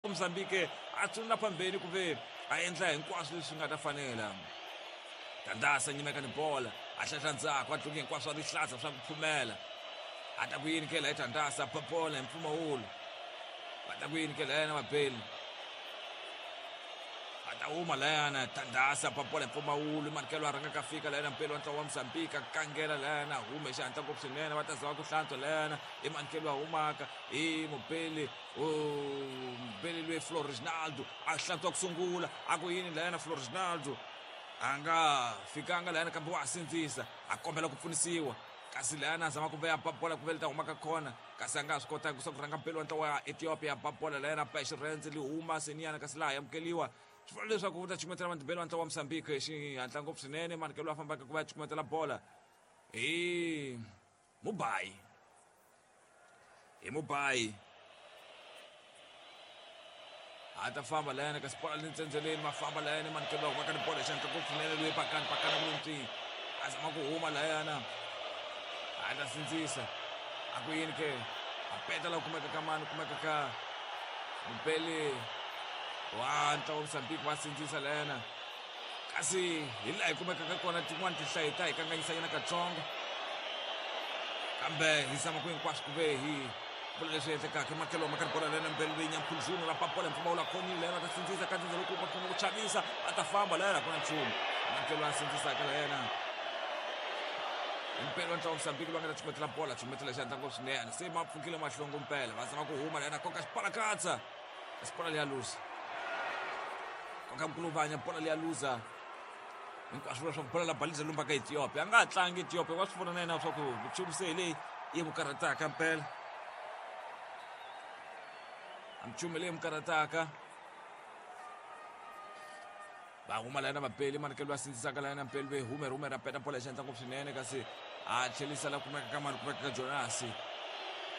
Mozambique a tsundza phambeni ku ve a endla hinkwaswo leswi nga ta fanela. Tandasa nyimeka ni bola a hlahla ndzhaku a dluke hinkwaswo a rihlaza swa ku phumela. A ta ku yini ke la Tandasa ba bola hi mpfumawulo. Va ta ku yini ke la yena Mabeli. Va ta huma layana Tandasa ba bola hi mpfumawulo Manikelo a rhanga ka fika layana Mpeli wa ntlawa wa Mozambique a kangela layana hume xihatla ngopfu swinene va ta zama ku hlantswa layana i Manikelo a humaka hi Mubeli Mubeli loyi Florinaldo a hlantswa ku sungula a ku yini layana Florinaldo a nga fikanga layana kambe wa ha sindzisa a kombela ku pfunisiwa kasi layana a zama ku veya ba bola ku ve leta humaka khona kasi a nga ha swi kotanga ku sa ku rhanga mpeli wa ntlawa ya Ethiopia ba bola layana ba hi xirhendze li huma seniyana kasi laha amukeliwa swi vula leswaku u ta cukumetela mandibelo wa ntlawa wa Mozambique hi xihatla ngopfu swinene manikelo a fambaka ku va ya cukumetela bola hi Mubayi hi Mubayi a ta famba layana kasi bola le ntsendzeleni va famba layana manikelo va humaka ni bola hi xihatla ngopfu swinene loyi pakani pakana ku le a zama ku huma layana a ta sindzisa a ku yini ke a peta la kumeka ka mani kumeka ka mupele wa ntlawa wa Mozambique va sindzisa layana kasi hi laha hi kumekaka kona tin'wani tinhlayo ta hi kanganyisanyana katsongo kambe hi zama ku hinkwaswo ku ve hi vula leswi endlekaka ematlhelo ma karhi bola lena mbele leyi nyamkhuluzulu ra papola mpfumawulo a khonile lena ta sindzisa ka ndzindza loko va khoma ku chavisa va ta famba lena ku na nchumu ematlhelo a sindzisaka la yena mpela wa ntlawa Mozambique loyi a nga ta chumetela bola chumetela xandla ngopfu swinene se ma pfukile mahlongo mpela va zama ku huma lena koka xipalakatsa kasi bola leya luza koka mkuluvanya bola leya luza hinkwaswo vula swa ku bola la baliza lumba ka Ethiopia a nga ha tlangi Ethiopia wa swi vona na yena swa ku nchumu se hi leyi yi n'wi karhataka mpela a nchumu leyi n'wi karhataka va huma layana vapeli manikelo va sindzisaka layana mpeli ve hume hume ra peta bola hi xihatla ngopfu swinene kasi a tlhelisa la kumeka ka mani kumeka ka Jonasi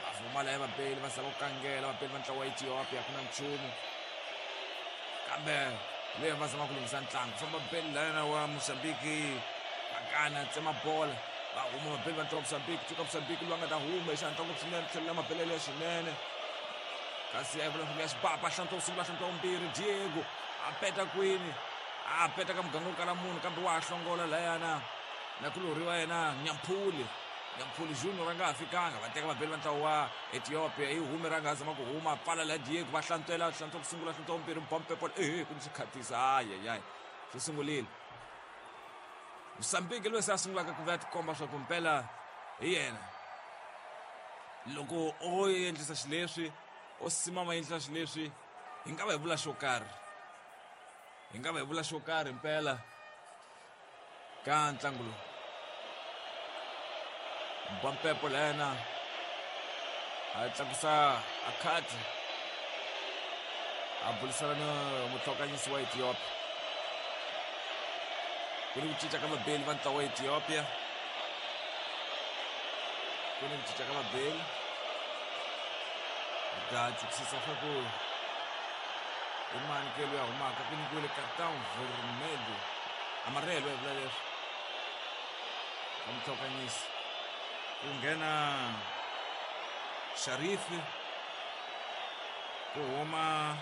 va huma laya vapeli va zama ku kangela vapeli va ntlawa wa Ethiopia ku na nchumu kambe leyi va zama ku lunghisa ntlangu famba beli layana wa Mozambique vakana tsema bola va huma vapeli va ntlawa Mozambique tsuka Mozambique loyi a nga ta huma hi xihatla ngopfu swinene tlhelela mabelele swinene kasi a vula ya xipapa hlantswa wu sungula hlantswa wumbirhi Diego a peta kwini a peta ka muganga wo kala munhu kambe wa ha hlongola layana na kulorhi wa yena Nyamphuli Nyamphuli Junior a nga ha fikanga va teka vabeli va ntlawa wa Ethiopia yi hume ra nga zama ku huma pfala la Diego va hlantswela hlantswa ku sungula hlantswa wumbirhi bompe bola ehe ku ni swikhatisa ayayay swi sungulile Mozambique loyi se a sungulaka ku va tikomba swa ku mpela hi yena loko o endlisa xileswi o simama endlisa xileswi hi nga va hi vula xo karhi hi nga va hi vula xo karhi mpela ka ntlangu lowu Mbampepo layana a tlakusa a khadi a burisana na mutlhokanyisi wa Ethiopia ku ni ku cinca ka vabeli va ntlawa wa Ethiopia ku ni ku cinca ka vabeli hi ta chukisisa swa ku i mani ke loyi a humaka ku nyikiwile Cartão Vermelho amarelo hi vula leswi ka mutlhokanyisi ku nghena Sharifi ku huma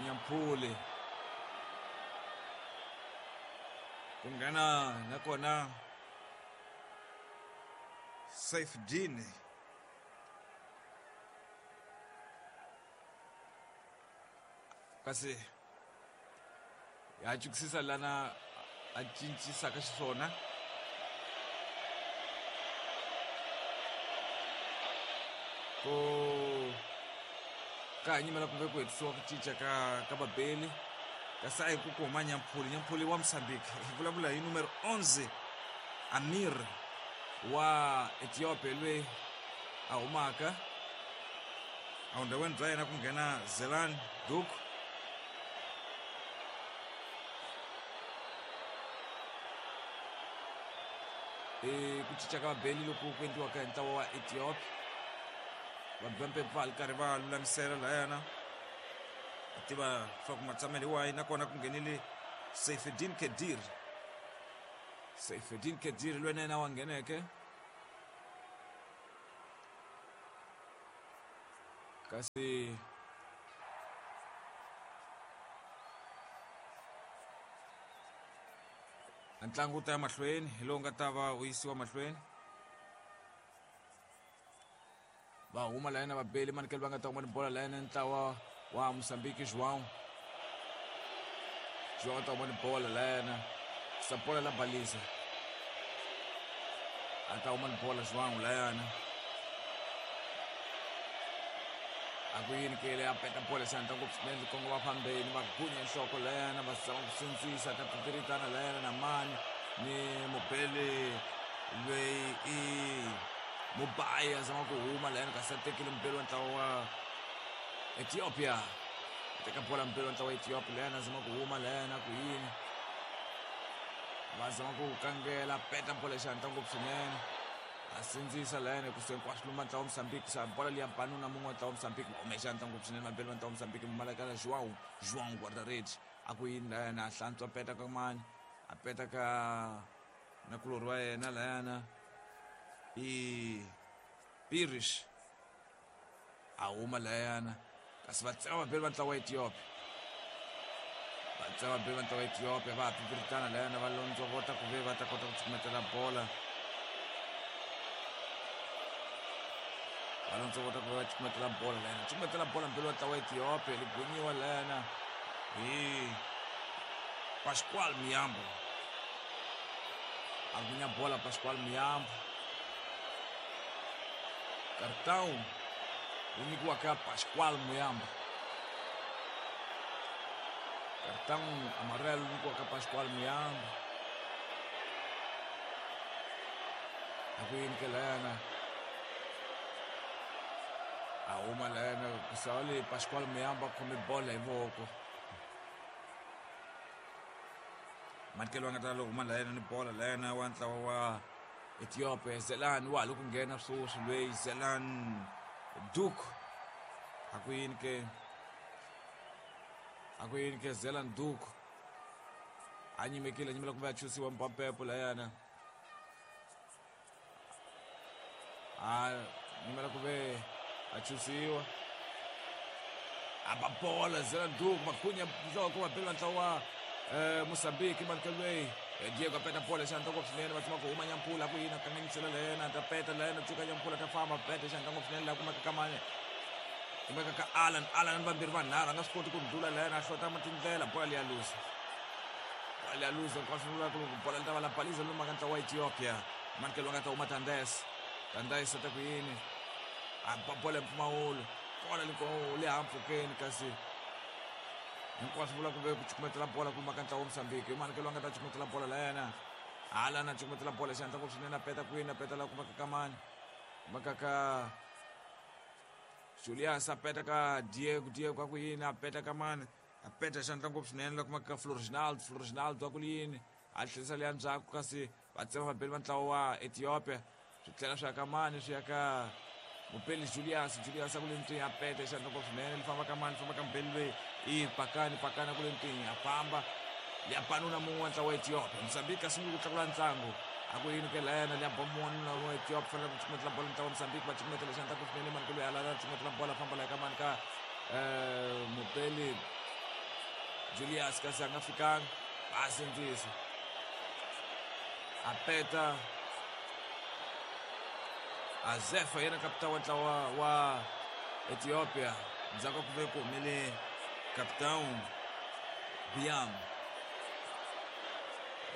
Nyamphuli ku nghena nakona Saifdin kasi ya chukisisa lana a cincisaka xiswona ku ka ha nyimela kumbe ku hetisiwa ku cinca ka ka vabeli kasi a hi ku ku huma Nyamphuli Nyamphuli wa Mozambique hi vulavula hi numero 11 Amir wa Ethiopia loyi a humaka Evundhaweni bya yena ku nghena Zelan Duk. I ku cinca ka vabeli loku ku endliwaka hi ntlawa wa Ethiopia Vabempe va li karhi va lulamisela layana a tiva leswaku matshamelo hi wahi nakona ku nghenile Seifedin Kedir Seifedin Kedir loyi na yena wa ngheneke. Kasi ntlangu wu ta ya mahlweni hi lowu nga ta va wu yisiwa mahlweni. Va huma layena vabeli manikelo va nga ta huma ni bola layena ntlawa wa Mozambique João. João ta huma ni bola layena sa bola la balisa. A ta huma ni bola João layana. A ku yini kele a peta bola xandla ngopfu swinene kongo va fambeni va gunya nhloko layana va zama ku sindzisa ta pipiritana layana na mani ni mubeli loyi i Mubai a zama ku huma layana kasi a tekile mubeli wa ntlawa wa Ethiopia. Teka bola mubeli wa ntlawa wa Ethiopia layana a zama ku huma layana ku yini va zama ku kangela peta bola xandla ngopfu swinene. A sindzisa layana ku se hinkwaswo luma ntlawa wa Mozambique sa bola liya banuna mun'we wa ntlawa wa Mozambique va hume xandla ngopfu swinene vabeli va ntlawa wa Mozambique Malakala João João guarda-redes a ku yini layana a hlantswa peta ka mani a peta ka nakulorhi wa yena layana i Pirish a huma layana kasi va tsema vabeli va ntlawa wa Ethiopia va tsema vabeli va ntlawa wa Ethiopia va ha pipiritana layana va londzovota ku ve va ta kota ku cukumetela bola va londzovota ku ve va cukumetela bola layana cukumetela bola mbeli wa ntlawa wa Ethiopia li gunyiwa layana hi Pascual Miyambo a gunya bola Pascual Miyambo cartão wu nyikiwa ka Pascual Muyamba cartão amarelo wu nyikiwa ka Pascual Muyamba a ku yini ke layana a huma layana ku sava le Pascual Muyamba a khome bola hi voko Matikelo va nga ta loko huma layana ni bola layana wa ntlawa wa Ethiopia Zelan wa ha lo ku nghena sweswi loyi Zelan Duk a ku yini ke a ku yini ke Zelan Duk a nyimekile a nyimela kumbe a chusiwa mpampepo layana a nyimela ku ve a chusiwa a ba bola Zelan Duk makhunya nhloko va bela ntlawa wa Mozambique manikelo loyi Diego a peta bola xandla ngopfu swinene va tsama ku huma nyampula ku yini a kanganyisela layena ta peta layena tsuka nyampula ta famba peta xandla ngopfu swinene laha kumeka ka mani kumeka ka Alan Alan vambirhi vanharhu a nga swi koti ku ndlula layena a hlota tindlela bola liya luza bola liya luza hinkwaswo vula ku loko bola li ta va la baliza lomu ka ntlawa wa Ethiopia manikelo nga ta huma Tandes Tandes a ta ku yini a ba bola hi mpfumawulo bola le hampfhukeni kasi hinkwaswo vula ku ve ku cukumetela bola ku maka ntlawa wa Mozambique hi manikelo a nga ta cukumetela bola la yena hala na cukumetela bola xandla ngopfu swinene a peta kwini a peta la kumaka ka mani kumaka ka Julius a peta ka Diego Diego a ku yini a peta ka mani a peta xandla ngopfu swinene la kumaka ka Floriginaldo Floriginaldo a ku yini a tlherisa leya ndzhaku kasi va tsema vabeli va ntlawa wa Ethiopia swi tlhela swi ya ka mani swi ya ka mubeli Julius Julius a ku le ntwini a peta xandla ngopfu swinene li famba ka mani famba ka mubeli loyi i pakani pakani a ku le ntwini a famba liya banuna mun'we wa ntlawa wa Ethiopia Mozambique a sungule ku tlakula ntlangu a ku yini ke layana liya ba mun'wana wa Ethiopia fanele ku cukumetela bola ntlawa wa Mozambique va cukumetela xandla ngopfu swinene mani ku loyi a lala cukumetela bola famba la ka mani ka mubeli Julius kasi a nga fikanga va sindzisa a peta Azefa yena kapita wa ntlawa wa Ethiopia ndzhaku ka ku ve ku humele capitão Biam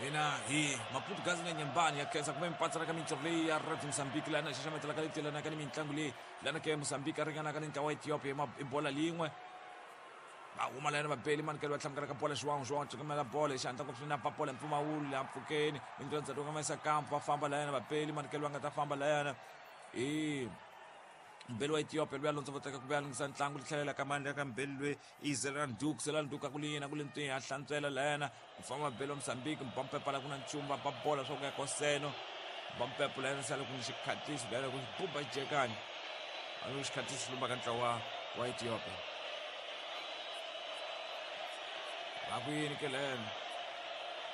hina hi Maputo Gazi na Nyembani ya khensa kumbe mipatsana ka mintirho leyi ya Radio Mozambique laha na xaxametelaka leyi telanaka ni mitlangu leyi lana ke Mozambique a ringanaka ni ntlawa wa Ethiopia hi bola lin'we va huma layani vabeli manikelo va tlhamukela ka bola João João cukumela bola hi xihatla ngopfu swinene a ba bola hi mpfumawulo laha mpfhukeni mintirho ndzhaku ka mayisa kampu va famba layana vabeli manikelo va nga ta famba layana hi mbeli wa Ethiopia luya londzo voteka ku vuya lunghisa ntlangu li tlhelela ka mani ka mbeli loyi i Zelan Duke Zelan Duke a ku li yena ku le ntwini a hlantswela layana ku famba vabeli wa Mozambique mbampepa la ku na nchumu va ba bola swa ku ya koseno mbampepo layana sale ku ni xikhatlisi layana ku xibumba xijekani a ni xikhatlisi lumba ka ntlawa wa Ethiopia va ku yini ke lena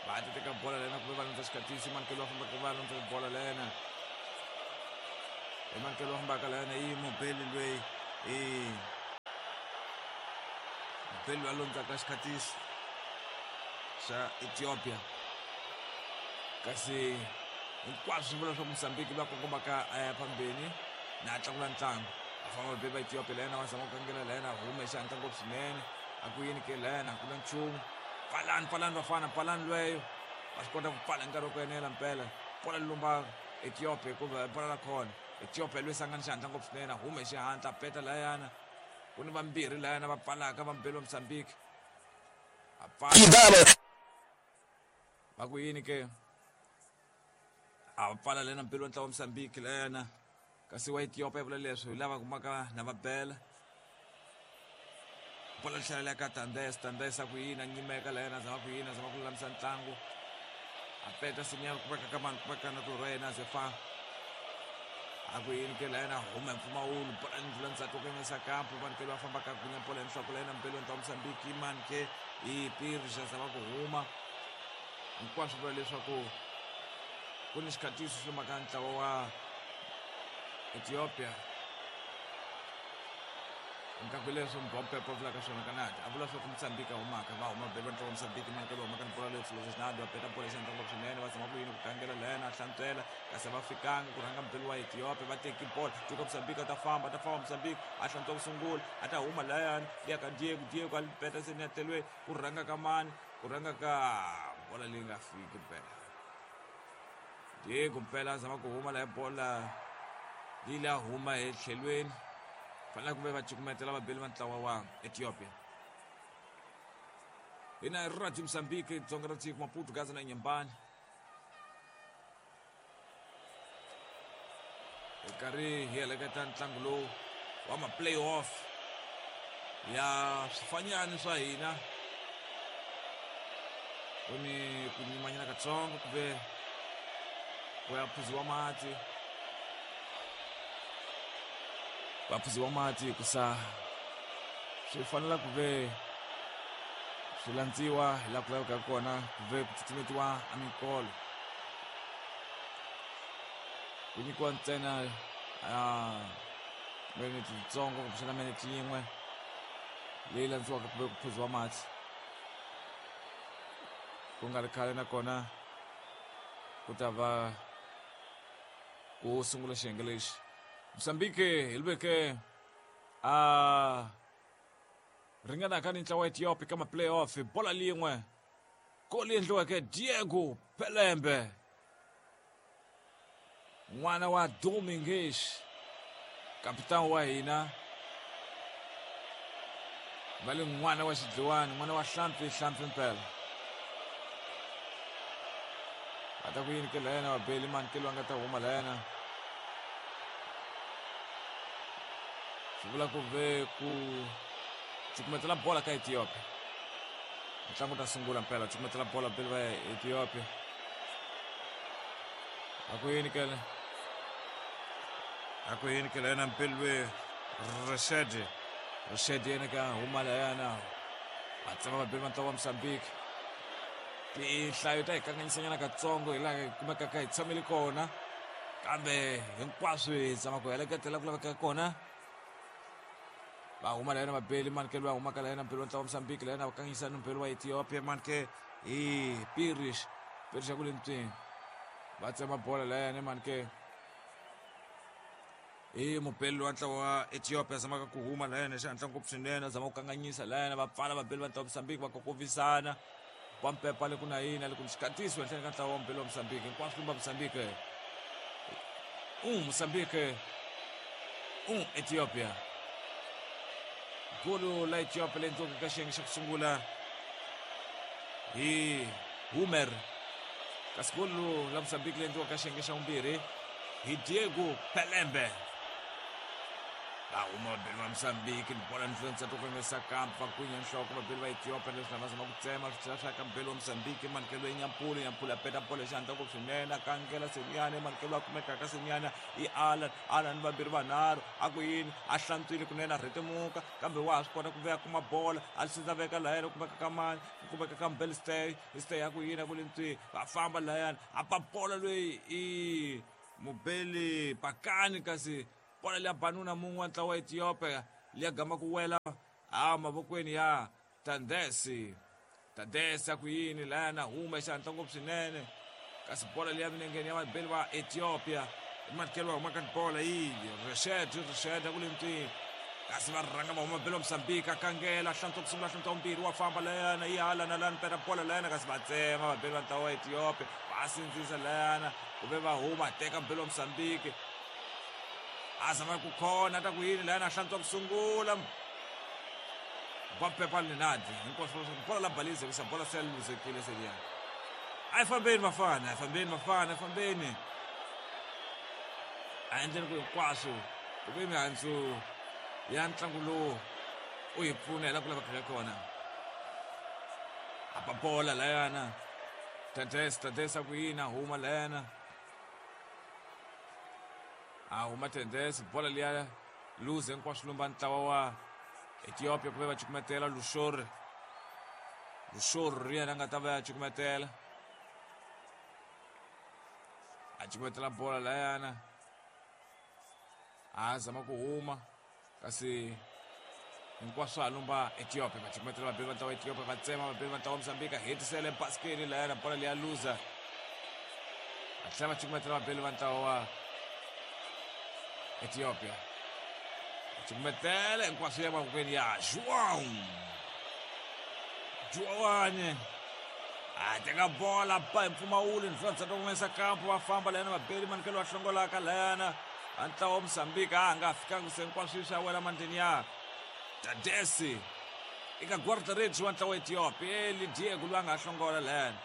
va ta teka bola lena kumbe va landza xikhatlisi manikelo va fambaka va landza bola lena hi manikelo va fambaka lena i mubeli loyi i Mubeli wa londzaka xikhatiso xa Ethiopia. Kasi hinkwaswo swi vula leswaku Mozambique va kongomaka a ya phambeni na tlakula ntlangu. A famba vabeli va Ethiopia layena va zama ku kangela layena hume xihatla ngopfu swinene. A ku yini ke layena ku na nchumu. Pfalani pfalani vafana pfalani lweyo. Va swi kota ku pfala hi nkarhi wa ku enela mpela. Bola lumba Ethiopia hikuva bola la khona. Ethiopia lweyi sangani xihatla ngopfu swinene hume xihatla peta layana. Ku ni vambirhi layana va pfalaka va mubeli wa Mozambique. A pfala. Va ku yini ke? A pfala lena mubeli wa ntlawa wa Mozambique layana. Kasi wa Ethiopia vula leswi hi lava kumaka na va bela. Bola tlhela ka Tandes, Tandes a ku yini a nyimeka layana zama ku yini zama ku lulamisa ntlangu. A peta sinyana ku veka ka vanhu ku veka na ku rhena zefa. A ku yini ke layana huma mpfumawulo bola ndlula ndzhaku ku yimisa kampu vanhu ke va famba ka gunya bola enhloko layana mbelo ntlawa Mozambique mani ke hi Pirja zama ku huma. Hinkwaswo vula leswaku ku ni xikhatiso xi lumaka ntlawa wa Ethiopia. Nkaku leswo Mbompepo a vulaka swona kanadi a vula swa ku Mozambique a humaka va huma beli va ntlawa Mozambique mani ke va humaka ni bola leyo Fernando a peta bola xihatla ngopfu swinene va zama ku yini ku kangela layena a hlantswela kasi va fikanga ku rhanga mubeli wa Ethiopia va teki bola Duka Mozambique a ta famba a ta famba Mozambique a hlantswa ku sungula a ta huma layani liya ka Diego Diego a peta se ni ya tlhelweni ku rhanga ka mani ku rhanga ka bola leyi nga fiki mpela Diego mpela a zama ku huma laha bola yi la huma etlhelweni fanele ku ve va cukumetela vabeli va ntlawa wa Ethiopia. Hina Radio Mozambique dzonga ra tiko Maputo Gaza na Nyembani hi karhi hi heleketa ntlangu lowu wa ma-playoff ya swifanyani swa hina. Ku ni ku nyimanyana katsongo ku ve ku ya phuziwa mati va phuziwa mati hikusa swi fanela ku ve swi landziwa hi laha ku lavekaka kona ku ve ku tsutsumetiwa a minkolo ku nyikiwa ntsena minete yitsongo kumbexana minete yin'we leyi landziwaka ku ve ku phuziwa mati ku nga ri khale nakona ku ta va ku sungula xiyenge lexi Mozambique hi veke a ringanaka ni ntlawa wa Ethiopia ka ma-playoff bola lin'we goli endliweke Diego Pelembe n'wana wa Domingues kapitani wa hina va le n'wana wa xidliwani n'wana wa hlampfi hlampfi mpela va ta ku yini ke layena vabeli mani ke loyi a nga ta huma layena swi vula ku ve ku cukumetela bola ka Ethiopia ntlangu ta sungula mpela cukumetela bola beli va Ethiopia a ku yini kele A ku yini ke layena mpelwe Rashad Rashad yena ka huma layana va tsema vabeli va ntlawa wa Mozambique tinhlayo ta hi kanganyisanyana katsongo hi laha hi kumekaka hi tshamile kona kambe hinkwaswo hi zama ku heleketela ku lavekaka kona va huma layena vabeli mani ke loyi a humaka layena mpeli wa ntlawa wa Mozambique layena va kanganyisa ni mpeli wa Ethiopia mani ke hi Pirish Pirish ya ku le ntswini va tsema bola layena mani ke hi mubeli wa ntlawa wa Ethiopia zamaka ku huma layena xihatla ngopfu swinene a zama ku kanganyisa layena va pfala vabeli va ntlawa wa Mozambique va kokovisana va mpepa le ku na yini le ku xikhatiso henhleni ka ntlawa wa mubeli wa Mozambique hinkwaswo lumba Mozambique Mozambique Ethiopia golo la Ethiopia leyi endliweke ka xiyenge xa ku sungula hi Humer kasi golo la Mozambique leyi endliweke ka xiyenge xa vumbirhi hi Diego Pelembe va huma vabeli va Mozambique ni bola ndlula to kanganyisa kampa va gwinya nhloko vabeli va Ethiopia leswi lava zama ku tsema swi tlhela swi ya ka mubeli wa Mozambique manikelo ya Nyampulu Nyampulu a peta bola xihatla ngopfu swinene a kangela Seniana manikelo a kumekaka Seniana hi Alan Alan vambirhi vanharhu a ku yini a hlantswile kunene a rhetemuka kambe wa ha swi kota ku veya kuma bola a sindza veka layani ku kumeka ka mani ku kumeka ka mubeli stay stay a ku yini a ku le ntswini va famba layani a ba bola loyi i mubeli pakani kasi bola liya banuna mun'we wa ntlawa wa Ethiopia liya gama ku wela a mavokweni ya Tandesi. Tandesi a ku yini lana huma xihatla ngopfu swinene. Kasi bola liya milengeni ya vabeli va Ethiopia. Matkelo huma ka bola yi Rashid Rashid a ku le mutini. Kasi va rhanga va huma belo Mozambique a kangela hlantswa ku sungula hlantswa vumbirhi wa famba layana yi hala na lana peta bola layana kasi va tsema vabeli va ntlawa wa Ethiopia va sindzisa layana kuve va huma teka belo Mozambique a zama ku khona ta ku yini layana hlantswa ku sungula Bapepa Lenadi hinkwaswo bola la balize kusa bola se luzekile se liya a yi fambeni vafana a yi fambeni vafana a yi fambeni a endleni ku hinkwaswo ku ve mihandzu ya ntlangu lowu u hi pfuna hi la ku lavaka ka kona a ba bola layana Tades Tades a ku yini a huma layana a huma Tades bola liya luze hinkwaswo lumba ntlawa wa Ethiopia ku ve va cukumetela Lushori Lushori yena a nga ta va ya cukumetela a cukumetela bola layana a zama ku huma kasi hinkwaswo a lumba Ethiopia va cukumetela vabeli va ntlawa Ethiopia va tsema vabeli va ntlawa Mozambique a hetisele basikeni layana bola liya luza va tlhela va cukumetela vabeli va ntlawa wa Ethiopia va cukumetela hinkwaswo ya mavokweni ya João Joane a teka bola ba hi mpfumawulo ndlula ndzhaku humesa kampo va famba layana vabeli manikelo va hlongolaka layana va ntlawa wa Mozambique a nga fikanga se hinkwaswo swi ya wela mandleni ya Tadesi eka guarda-redes wa ntlawa wa Ethiopia Eli Diego loyi a nga hlongola layana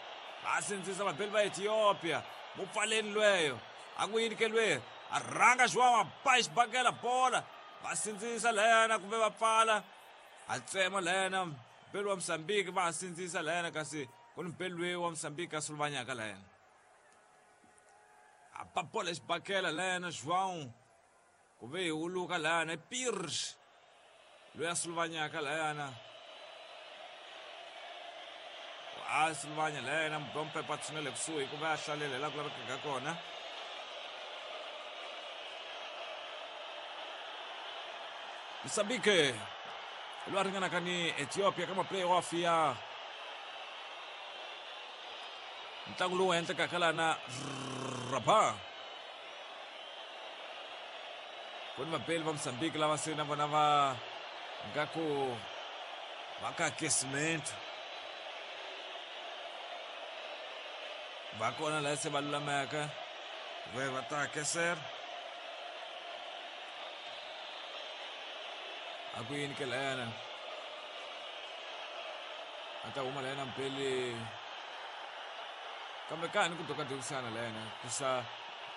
va sindzisa vabeli va Ethiopia mupfaleni lweyo a ku yini ke lweyo a rhanga João a ba xibakela bola va sindzisa layana kumbe va pfala a tsema layana mpeli wa Mozambique va sindzisa layana kasi ku ni mpeli loyi wa Mozambique a suluvanyaka layana a ba bola xibakela layana João ku ve hi wuluka layana Pires loyi a suluvanyaka layana a suluvanya layana mubompepa tshunele kusuhi ku va a hlalela hi laha ku lavekaka kona Mozambique loyi a ringanaka ni Ethiopia ka ma-playoff ya ntlangu lowu endlekaka lana Rabat ku ni vabeli va Mozambique lava se na vona va nga ku va ka aquecimento va kona laha se va lulameka ve va ta aquecer a ku yini ke layana a ta huma layana mpeli kambe ka ha ni ku dokadokisana layana ku sa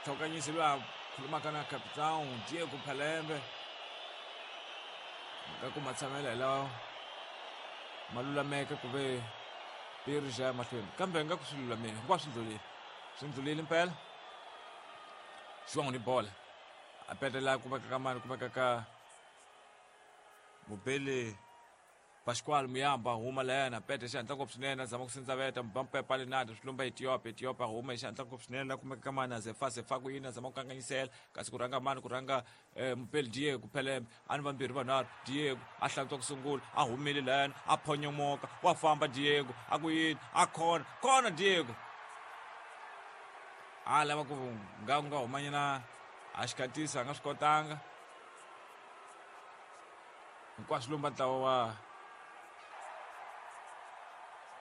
tlhokanyisi loyi a khulumaka na capitão Diego Phalembe nga ku matshamelo hi lawa ma lulameke ku ve piri xa ya mahlweni kambe nga ku swi lulamile hinkwaswo swi ndlulile swi ndlulile mpela João ni bola a petela ku veka ka mani ku veka ka mubeli Pascual Muyamba huma layana pete xihatla ngopfu swinene a zama ku sindzaveta Mbappe Palinado swi lumba Ethiopia Ethiopia huma hi xihatla ngopfu swinene la kumeka ka mani a Zefa Zefa ku yini a zama ku kanganyisela kasi ku rhanga mani ku rhanga Mupeli Diego Phelembe a ni vambirhi vanharhu Diego a hlantswa ku sungula a humile layana a phonyomoka wa famba Diego a ku yini a khona khona Diego a lava ku nga ku nga humanyana a xikhatisa a nga swi kotanga hinkwaswo lomba ntlawa wa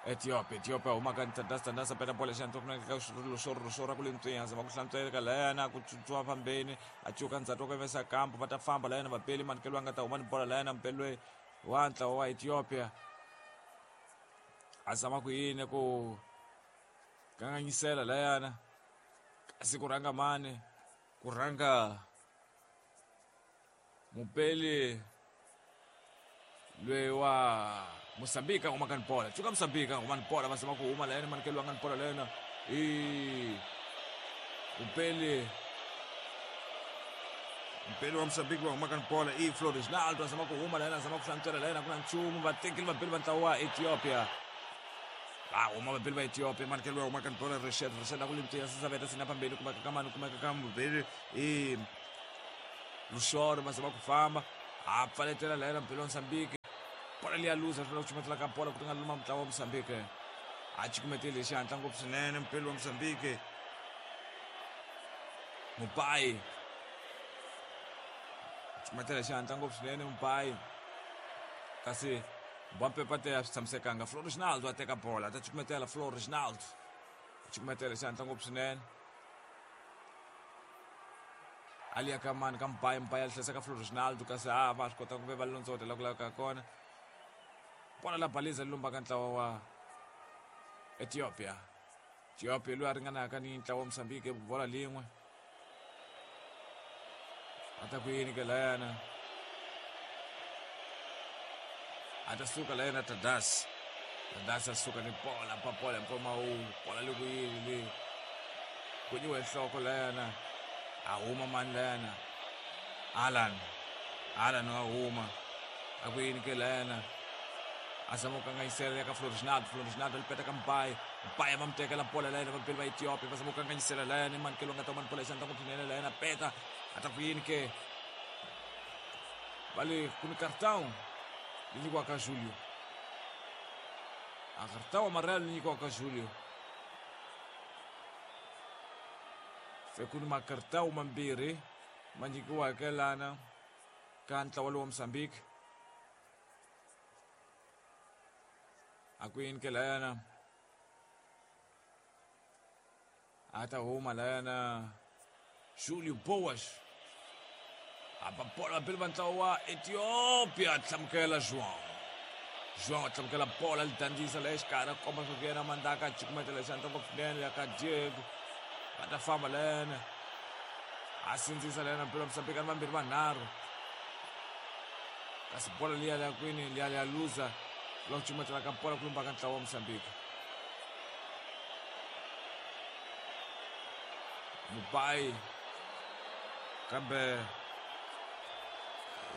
Ethiopia Ethiopia humaka ntandasa peta bola xandla ku ka swilo swo ra ku le ntswinya zama ku hlantsweka layana ku tsutsuma fambeni a cuka ndzhaku ka vesa kampo va ta famba layana vapeli manikelo a nga ta huma ni bola layana mpeli loyi wa ntlawa wa Ethiopia a zama ku yini ku kanganyisela layana kasi ku rhanga mani ku rhanga mupeli loyi wa Mozambique a humaka ni bola cuka Mozambique a huma ni bola va zama ku huma layena manikelo a nga ni bola layena i mupeli mpeli wa Mozambique va humaka ni bola i Flores Naldo a zama ku huma layena a zama ku hlantswela layena ku na nchumu va tekile vabeli va ntlawa wa Ethiopia va huma vabeli va Ethiopia manikelo va humaka ni bola Rashid Rashid a ku limtiya sisaveta sina phambili kumeka ka mani kumeka ka mubeli i Luxoro va zama ku famba a pfaletela layena mpeli wa Mozambique Bola liya luza swi vula ku cukumetela ka bola ku ringana luma mutlawa wa Mozambique. A cukumetile hi xihatla ngopfu swinene mupeli wa Mozambique. Mubai cukumetela hi xihatla ngopfu swinene Mubai, kasi Mbappe te a swi tshamisekanga. Flo Reginaldo a teka bola, a ta cukumetela Flo Reginaldo, a cukumetela hi xihatla ngopfu swinene. A liya ka mani ka Mbayi, Mbayi a hlesa ka Flo Reginaldo, kasi a va swi kota ku ve va londzota la ku lavekaka kona. Bola la baliza li lumbaka ntlawa wa Ethiopia. Ethiopia loyi a ringanaka ni ntlawa wa Mozambique bola lin'we. A ta ku yini ke layana? A ta suka layana Tadas. Tadas a suka ni bola, pa bola mpfumawulo. Bola li ku yini le? Kunyiwe nhloko layana. A huma mani layana? Alan. Alan wa huma. A ku yini ke layana? A zama ku kanganyisela ya ka Flo Reginaldo. Flo Reginaldo li peta ka Mbayi. Mbayi va mu tekela bola layana vabeli va Ethiopia va zama ku kanganyisela layana i mani ke loyi nga ta huma ni bola hi xandla ngopfu swinene layana peta. A ta ku yini ke? Va le ku ni cartão li nyikiwaka Julio. A cartão amarelo li nyikiwaka Julio. Se ku ni makartão mambirhi ma nyikiwaka lana ka ntlawa lowu wa Mozambique. A ku yini ke layana? A ta huma layana Julio Boas. A ba bola vabeli va ntlawa wa Ethiopia a hlamukela João. João a hlamukela bola li dandzisa la exikarhi a komba swa ku yena mandaka a cukumetela xandla ngopfu swinene ya ka Diego. Va ta famba layana. A sindzisa layana mpela Mozambique ni vambirhi vanharhu. Kasi bola liya liya kwini liya liya luza la ku cukumetela ka bola ku lumba ka ntlawa wa Mozambique. Mubai kambe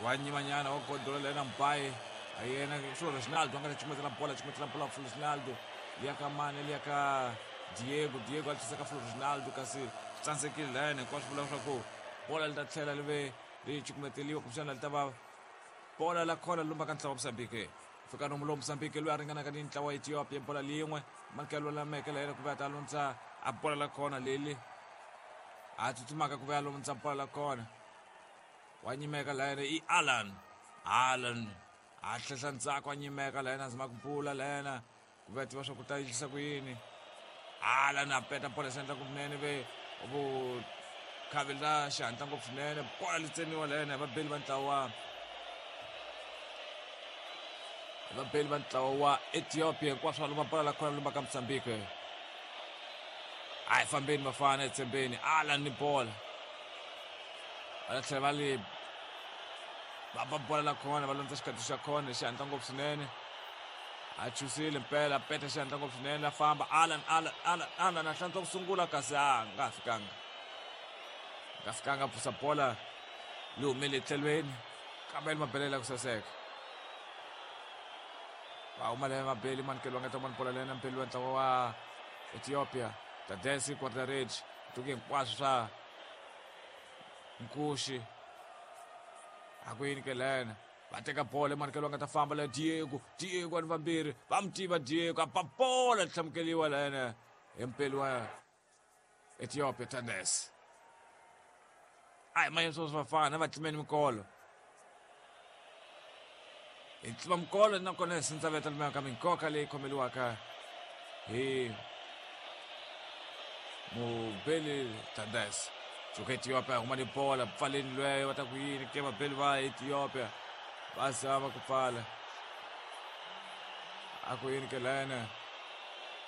wa nyimanyana wa godola lena Mbai a yena Flo Reginaldo a nga ta cukumetela bola, cukumetela bola Flo Reginaldo liya ka mani liya ka Diego. Diego a tlhisa ka Flo Reginaldo kasi swi tsandzekile layani hinkwaswo vula leswaku bola li ta tlhela li ve ri cukumeteliwa kumbexana li ta va bola la khona lumba ka ntlawa wa Mozambique. Fika nomu lowu Mozambique loyi a ringanaka ni ntlawa wa Ethiopia bola lin'we manikelo lameke la yena ku ve a ta lundza a bola la khona leli a tsutsumaka ku ve a lundza bola la khona wa nyimeka la yena i Alan. Alan a hlehla ndzhaku a nyimeka la yena a zama ku bula la yena ku ve a tiva swa ku ta yisa ku yini. Alan a peta bola xandla ngopfu swinene ve vukhavi la xihatla ngopfu swinene bola li tsemiwa la yena hi vabeli va ntlawa vabeli va ntlawa wa Ethiopia hinkwaswo va luma bola la khona luma ka Mozambique. A hi fambeni vafana etshembeni Alan ni bola va ta tlhela va li va ba bola la khona va lundza xikatso xa khona hi xihatla ngopfu swinene. A chusile mpela peta xihatla ngopfu swinene la famba Alan Alan Alan Alan a hlantswa ku sungula kasi a nga fikanga nga fikanga pfusa bola li humele etlhelweni kambe li mabelela ku saseka. Va huma le mabeli manikelo nga ta mani bola lena mpeli wa ntlawa wa Ethiopia Tadesi Quartarage tuke hinkwaswo swa nkuxi a ku yini ke lena va teka bola manikelo nga ta famba la Diego. Diego ani vambirhi va mu tiva Diego a ba bola hlamukeliwa lena hi mpeli wa Ethiopia Tadesi. A hi mayeni sweswo vafana va tlimeni mikolo hi tlima mikolo nakona hi sindzaveta lumeka ka minkoka leyi khomeliwaka hi mubeli Tadesi. Suka Ethiopia huma ni bola pfaleni lweyo va ta ku yini ke vabeli va Ethiopia va zama ku pfala a ku yini ke lena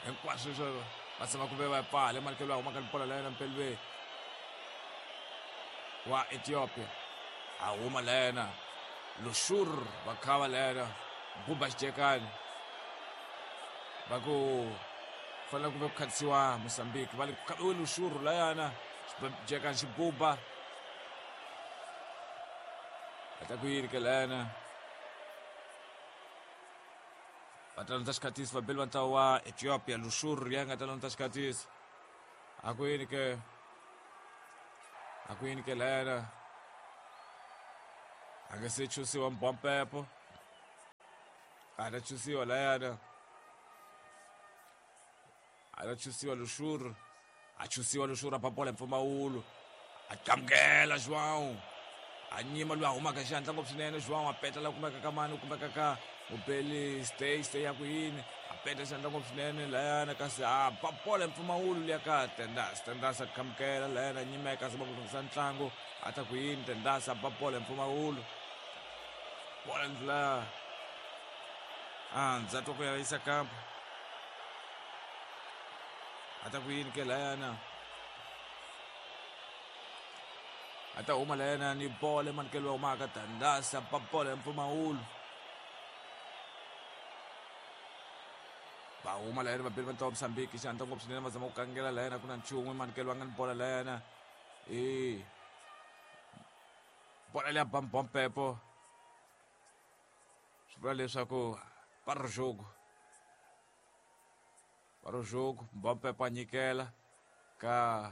hinkwaswo sweswo va zama ku ve va pfala manikelo ya huma ka bola lena mpeli wa Ethiopia a huma lena Lushur va khava lena buba xijekani va ku fanele ku ve ku khatisiwa Mozambique va le ku khaviwe Lushur layana xijekani xi buba va ta ku yini ke lena va ta lundza xikhatisi vabeli va ntlawa wa Ethiopia Lushur ya nga ta lundza xikhatisi a ku yini ke a ku yini ke lena a nge se chusiwa mbompepo. A ta chusiwa layana, a ta chusiwa Luxur, a chusiwa Luxur, a ba bola hi mpfumawulo, a qamukela João, a nyima loyi a humaka hi xihatla ngopfu swinene. João a peta la kumeka ka mani, kumeka ka mubeli stay stay ya ku yini, a peta xihatla ngopfu swinene layana, kasi a ba bola hi mpfumawulo liya ka Tendas. Tendas a qamukela layana, a nyimeka, a zama ku lunghisa ntlangu, a ta ku yini Tendas, a ba bola hi mpfumawulo, bola ndlula a ndzhaku ku ya yisa kampo, a ta ku yini ke layana, a ta huma layana ni bola emanikelo wa humaka Tandasa, ba bola ya mpfumawulo, va huma layana vabeli va ntlawa Mozambique xihatla ngopfu swinene, va zama ku kangela layana, ku na nchumu emanikelo va nga ni bola layana, e bola leya bambompepo, swi vula leswaku para o jogo, para o jogo. Mbampepo a nyikela ka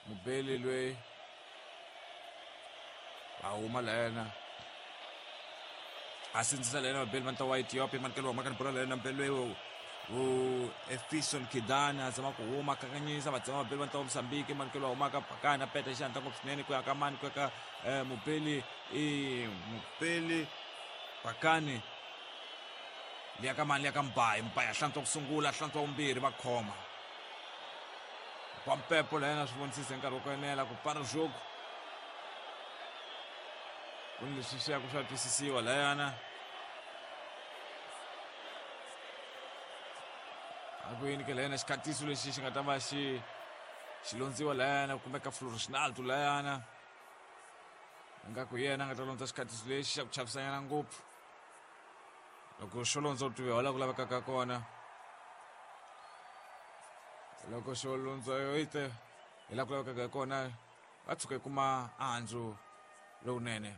mubeli loyi, va huma layena, a sindzisa layena vabeli va ntlawa wa Ethiopia, manikelo wa maka ni bola layena, mubeli loyi u Efison Kidani a zama ku huma kanganyisa, va tsema vabeli va ntlawa Mozambique, manikelo wa humaka Pakani, a peta xihatla ngopfu swinene ku ya ka mani, ku ya ka mubeli i mubeli Pakani, liya ka mani, liya ka Mbayi, Mbayi a hlantswa ku sungula, a hlantswa vumbirhi, va khoma Pampepo layena, swi vonisise nkarhi wa ku enela ku para jogo, ku ni leswi swi ya ku swa twisisiwa layana, a ku yini ke layana, xikhatiso lexi xi nga ta va xi xi londziwa layana, kumbe ka Floresnaldo layana, ingaku yena a nga ta londza xikhatiso lexi xa ku chavisanyana ngopfu, loko xo londza u tiviwa la ku lavekaka kona, loko xo londza yo ite hi la ku lavekaka kona, va tshuka yi kuma andzu lowunene.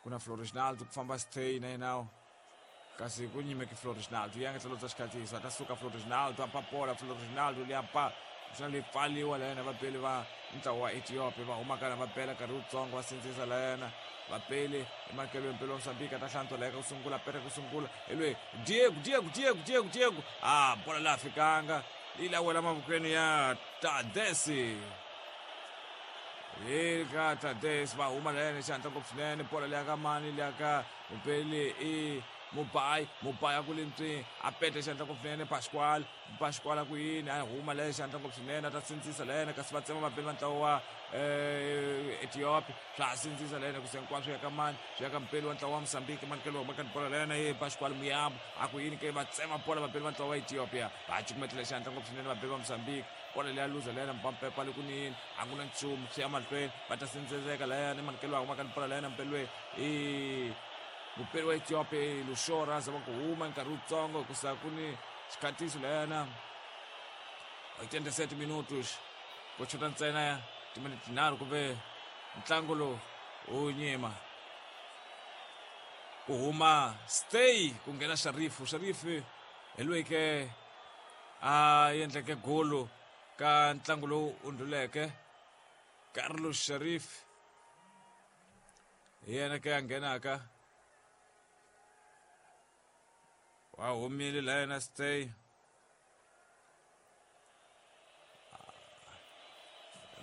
Ku na Floresnaldo ku famba stay na yena, kasi ku nyimeki Floresnaldo ya nga ta londza xikhatiso, a ta suka Floresnaldo, a ba bola Floresnaldo liya ba xana leyi pfaliwa layena, vabeli va ntlawa wa Ethiopia va humaka na va bela nkarhi wutsongo, va sindzisa layena vapeli emakelweni, mpeli wa Mozambique a ta hlantswa laya ka ku sungula, peta ku sungula hi loyi Diego, Diego, Diego, Diego, Diego, a bola laha fikanga yi la wela mavokweni ya Tadesi, hi ka Tadesi, va huma layena xihatla ngopfu swinene, bola liya ka mani, liya ka mupeli i Mubayi, Mubayi a ku le ntswini, a peta xihatla ngopfu swinene Pascual, Pascual a ku yini, a huma leyo xihatla ngopfu swinene, a ta sindzisa layena, kasi va tsema vapeli va ntlawa wa Ethiopia, swa ha sindzisa layena, ku se hinkwaswo ya ka mani, swi ya ka mupeli wa ntlawa wa Mozambique, manikelo wa huma ka bola layena ye Pascual Muyambo, a ku yini ke, va tsema bola vapeli va ntlawa wa Ethiopia, va cukumetela xihatla ngopfu swinene vapeli va Mozambique, bola leya luza layena, Mbampepa le ku nini, a ku na nchumu, swi ya mahlweni, va ta sindziseka layena, manikelo wa huma ka bola layena, mupeli loyi i mupeli wa Ethiopia Luxora, a zama ku huma nkarhi wutsongo hikusa ku ni xikhatiso layana, 87 minutos, ku chota ntsena timinete tinharhu kumbe ntlangu lowu wu nyima, ku huma stay ku nghena Sharifu. Sharifu hi loyi ke a endleke golo ka ntlangu lowu undluleke, Carlos Sharif hi yena ke a nghenaka, wa humile la yena stay,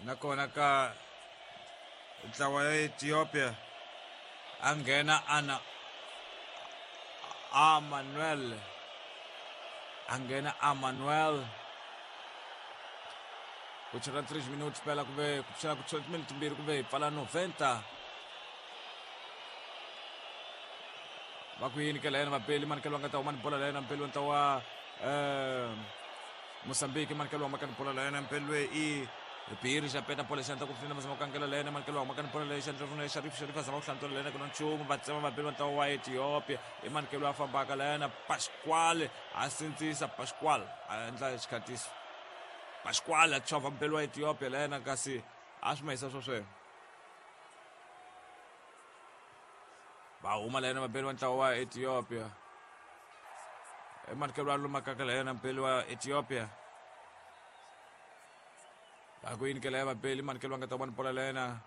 nakona ka ntlawa ya Ethiopia a nghena ana Amanuel, a nghena Amanuel, ku chela 3 minutes phela kumbe ku chela ku chela timinete timbirhi kumbe hi pfala 90, va ku yini ke la yena vapeli, manikelo va nga ta huma ni bola la yena mpeli wa ntlawa Mozambique, manikelo wa maka ni bola la yena mpeli loyi i Biri xa peta bola xandla ku pfuna mazama ku kangela la yena, manikelo wa maka ni bola la xandla rona Sharif, Sharif a zama ku hlantswa la yena, ku na nchumu, va tsema vapeli va ntlawa wa Ethiopia, i manikelo a fambaka la yena Pascual, a sindzisa Pascual, a endla xikhatiso Pascual, a chovha mpeli wa Ethiopia la yena, kasi a swi mahisa swo sweswo, va huma la yena vapeli va ntlawa wa Ethiopia, emanikelo a lumakaka la yena mpeli wa Ethiopia, va ku yini ke la ya vapeli, manikelo va nga ta vona bola la yena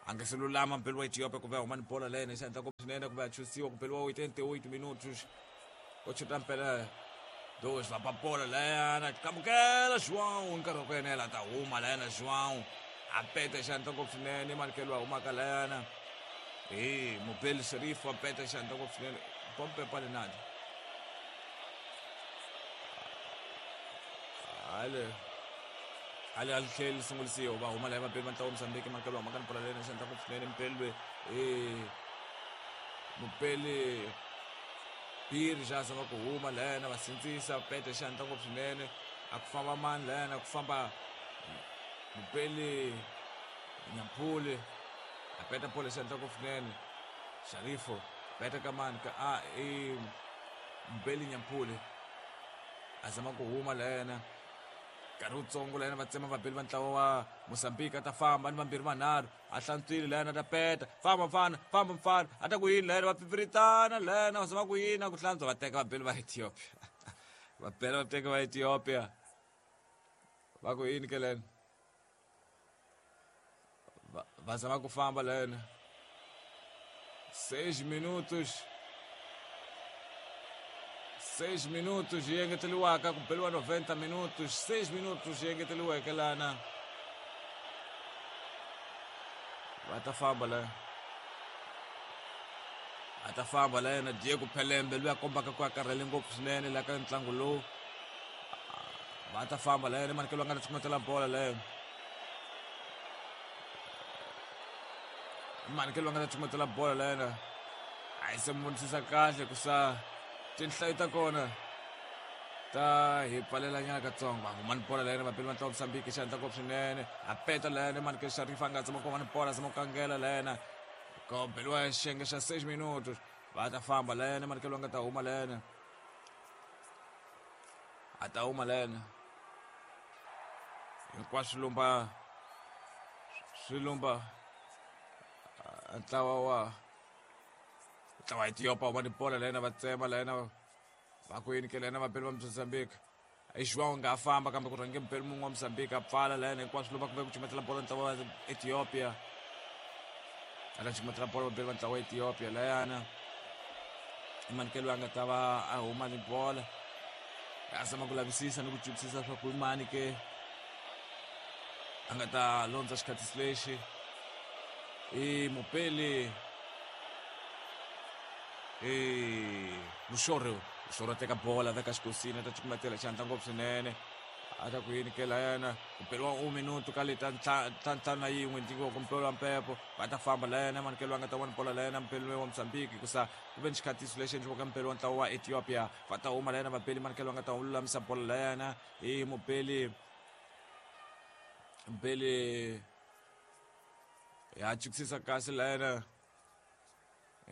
A nga se lulama mpelo wa Ethiopia ku va huma ni bola lena xandla ngopfu swinene ku va chusiwa ku beliwa 88 minutos ko chuta mpela dois va ba bola leyana kamukela João nkarhi wa ku enela ta huma leyana João a peta xandla ngopfu swinene manikelo a humaka leyana hi Mobile Sharif a peta xandla ngopfu swinene pompe pale nandi ale ale a tlheli sungulisiwa va huma laya vapeli va ntlawa Mozambique manikelo a humaka ni bola leyana xandla ngopfu swinene mpelwe mupeli Piri xa zama ku huma lena va sindzisa pete xandla ngopfu swinene a ku famba mani lena ku famba mupeli Nyampuli a peta bola xandla ngopfu swinene Sharifo peta ka mani ka a i Mupeli Nyampuli a zama ku huma lena nkarhi wutsongo lena va tsema vapeli va ntlawa wa Mozambique a ta famba ni vambirhi vanharhu a hlantswile lena ta peta famba mfana famba mfana a ta ku yini lena va pfipfiritana lena va zama ku yini a ku hlantswa va teka vabeli va Ethiopia va bela va teka va Ethiopia va ku yini ke lena va zama ku famba lena 6 minutos 6 minutos yi engeteriwaka ku beliwa 90 minutos 6 minutos yi engeteriweke lana va ta famba la a ta famba la yena Diego Pelembe loyi a kombaka ku a karhele ngopfu swinene la ka ntlangu lowu va ta famba la yena manikelo a nga ta cukumetela bola leyo manikelo a nga ta cukumetela bola la yena a yi se mu vonisisa kahle ku sa tinhlayo ta kona ta hi pfalelanyana katsongo va huma ni bola la yena vapeli va ntlawa Mozambique xandla ngopfu swinene a peta la yena manikelo Sharifa a nga tsama ku va ni bola zama ku kangela la yena ko beliwa xiyenge xa 6 minutos va ta famba la yena manikelo a nga ta huma la yena a ta huma la yena hinkwaswo lumba swi lumba ntlawa wa ntlawa Ethiopia huma ni bola la yena va tsema la yena va ku yini ke la yena vapeli va Mozambique João nga famba kambe ku rhange mpeli mun'we wa Mozambique a pfala la yena hinkwaswo lumba kumbe ku cumetela bola ntlawa wa Ethiopia a ta cumetela bola vapeli va ntlawa wa Ethiopia layana manikelo a nga ta va a huma ni bola a zama ku lavisisa ni ku twisisa swa ku i mani ke a nga ta londza xikhatisi lexi i mupeli i Muxoro Muxoro a teka bola veka xikosini a ta cukumetela xandla ngopfu swinene a ta ku yini ke layana ku beliwa un minuto ka leta ntlhanu na yin'we nyikiwa ku mpelo wa mpepo va ta famba layana manikelo a nga ta vona bola layana mpelo wa Mozambique hikusa ku ve ni xikhatiso lexi endliwaka mpelo wa ntlawa wa Ethiopia va ta huma layana vapeli manikelo a nga ta lulamisa bola layana hi mupeli mpeli ya chukisisa kahle layana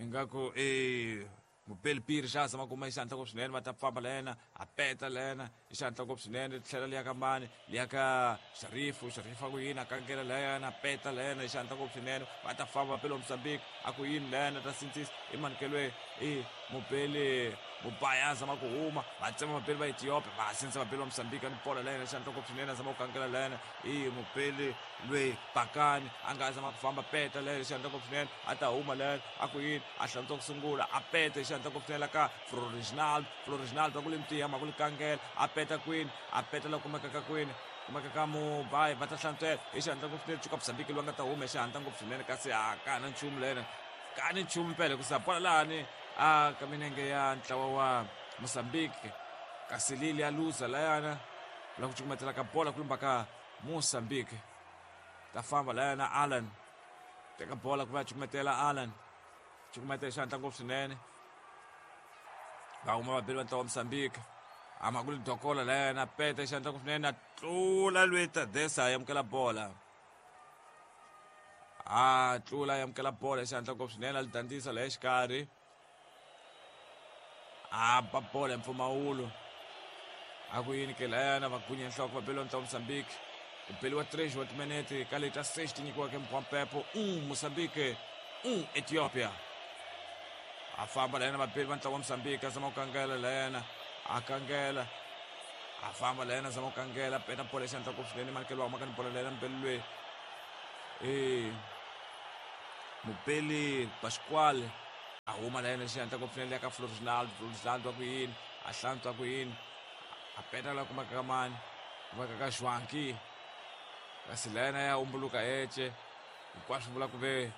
ingaku i mupeli Piri xa zama kuma hi xandla ngopfu swinene va ta famba la yena a peta la yena hi xandla ngopfu swinene tlhela liya ka mani liya ka Sharifu Sharifu a ku yini a kangela la yena a peta la yena hi xandla ngopfu swinene va ta famba vapeli wa Mozambique a ku yini la yena ta sindzisa i manikelwe i mupeli Mubaya a zama ku huma va tsema vapeli va Ethiopia va sindzisa vapeli va Mozambique ni bola la yena hi xandla ngopfu swinene a zama ku kangela la yena i mupeli lweyi Bakani a nga zama ku famba peta la yena hi xandla ngopfu swinene a ta huma la yena a ku yini a hlantswa ku sungula a peta hi xandla ngopfu swinene la ka Floriginaldo Floriginaldo a ku le mtiya ma ku li kangela a peta kwini a peta la kumekaka kwini kumeka ka Mubayi va ta hlantswela hi xandla ngopfu swinene cuka Mozambique loyi a nga ta huma hi xandla ngopfu swinene kasi a ka ha na nchumu la yena ka ni nchumu mpela hikusa bola lahani a ka minenge ya ntlawa wa Mozambique kasi lili ya luza layana la ku cukumetela ka bola ku lumba ka Mozambique ta famba layana Alan teka bola ku va cukumetela Alan cukumetela xandla ngopfu swinene va huma vabeli va ntlawa wa Mozambique ama ku li dokola layana peta xandla ngopfu swinene a tlula lweyi Tadesa a amukela bola a tlula a amukela bola xandla ngopfu swinene a li dandzisa la exikarhi a ba bola hi mpfumawulo a ku yini ke layana va gunya nhloko va beliwa ntlawa Mozambique ku beliwa 3 wa timinete ka leta 6 ti nyikiwaka mpwampepo Mozambique Ethiopia a famba layana vabeli va ntlawa wa Mozambique a zama ku kangela layana a kangela a famba layana a zama ku kangela peta bola xandla ngopfu swinene manikelo wa humaka ni bola layana mubeli lweyi e Mupeli Pasquale a huma la yena xihatla ngopfu swinene ka Florinaldo. Florinaldo wa ku yini a hlantswa ku yini a peta la kumaka ka mani kumaka ka Joaquim, kasi la yena ya umbuluka ece hinkwaswo vula ku ve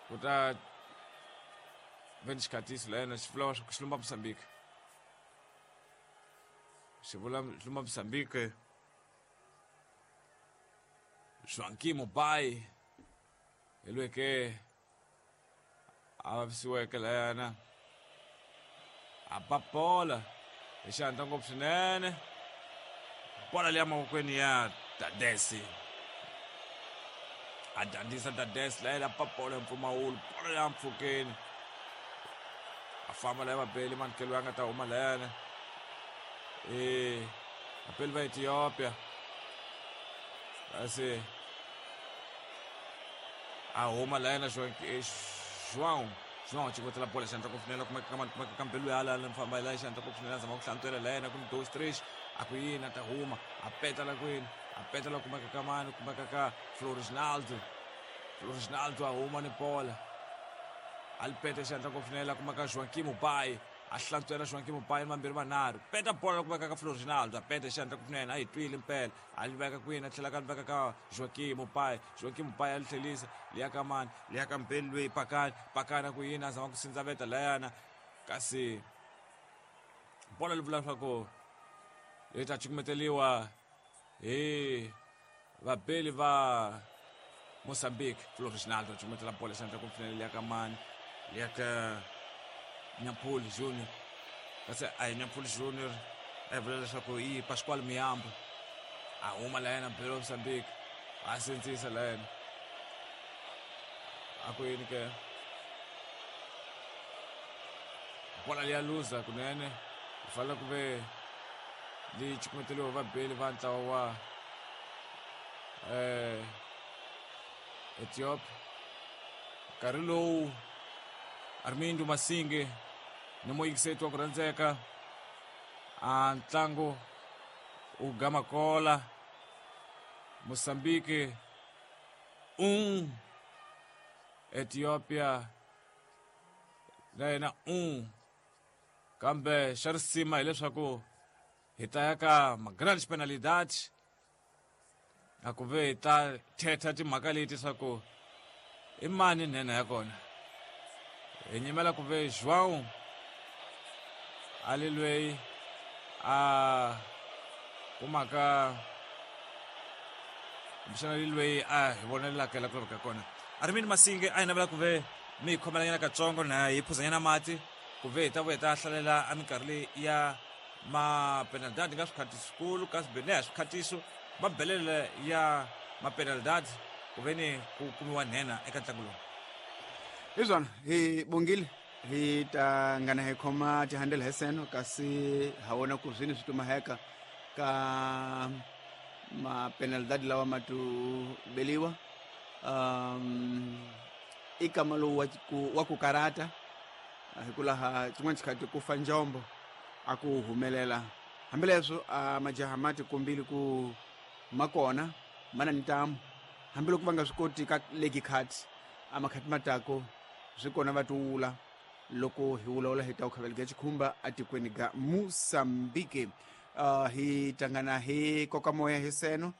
ku ta ve ni xikhatiso la yena xi vula xi lumba Mozambique, xi vula xi lumba Mozambique. Joaquim Mubai hi lweke a vavisiweke layana a ba bola hi xihatla ngopfu swinene, bola leya mavokweni ya Dadesi, a dyondzisa Dadesi layena ba bola hi mpfumawulo, bola ya mpfhukeni a famba laya vabeli manikelo ya nga ta huma layana vabeli va Ethiopia, kasi a huma layena João João chikotela bola xandla ku funela kuma kama kuma kambelu ya la mfamba la xandla ku funela zama ku hlantswela layena ku 2 3 a ku yini a ta huma a peta la kwini a peta la kuma ka mani kuma ka Florinaldo. Florinaldo a huma ni bola a li peta xandla ku funela kuma ka Joaquim Mubai a hlantswela Joaquim Mubai mambirhi manharhu peta bola kuma ka Florinaldo a peta xandla ku funela a yi twile mpela a li veka kwini a tlhela ka veka ka Joaquim Mubai. Joaquim Mubai a li tlhelisa liya ka mani liya ka Mbeli loyi pakani pakani ku yini a zama ku sindzaveta layana, kasi bola li vula leswaku yi ta cukumeteliwa hi vabeli va Mozambique. Florinaldo a cukumetela bola xandla ku pfunela liya ka mani liya ka Nyampuli Junior, kasi a hi Nyampuli Junior a hi vula leswaku i Pasquale Miyambo a huma la yena belo Mozambique a sindzisa la yena a ku yini ke bola liya luza kunene ku fanele ku ve leyi cukumeteliwa vabeli va ntlawa wa Ethiopia. Nkarhi lowu Armindo Masinge ni muyingiseti wa ku rhandzeka a ntlangu u gamakola Mozambique 1 Ethiopia na yena 1, kambe xa risima hileswaku hi ta ya ka ma-grand penalidad a ku ve hi ta thetha timhaka leti swa ku i mani nhenha ya kona. Hi nyimela ku ve João a li lweyi a kumaka kumbexana li lweyi a hi vonelaka la ku laveka kona. Armini Masinge a hi navela ku ve mi hi khomelanyana katsongo na hi phuzanyana mati ku ve hi ta vuya hi ta hlalela a minkarhi leyi ya mapenalidad nga swikhatiso kasi bene swikhatisi mabelele ya mapenalidad ku ve ni ku kumiwa nhenha eka ntlangu lowu. Hi swona hi bongile hi ta ngana hi khoma tihandela hi seno kasi ha wona ku zwini swi tumaheka ka mapenalidad lawa ma tu beliwa i kama lowu wa ku karata hikulaha xin'wana xikhathi ku fa njombo a ku humelela hambileswo a majaha ma tikombile ku ma kona ma na ntamu hambiloko va nga swi koti ka legi khati a makhati matako swi kona va tiwula loko hi vulavula hi ta ku khaveleka xikhumba atikweni ga Mozambique. Hi tangana hi koka moya hi seno.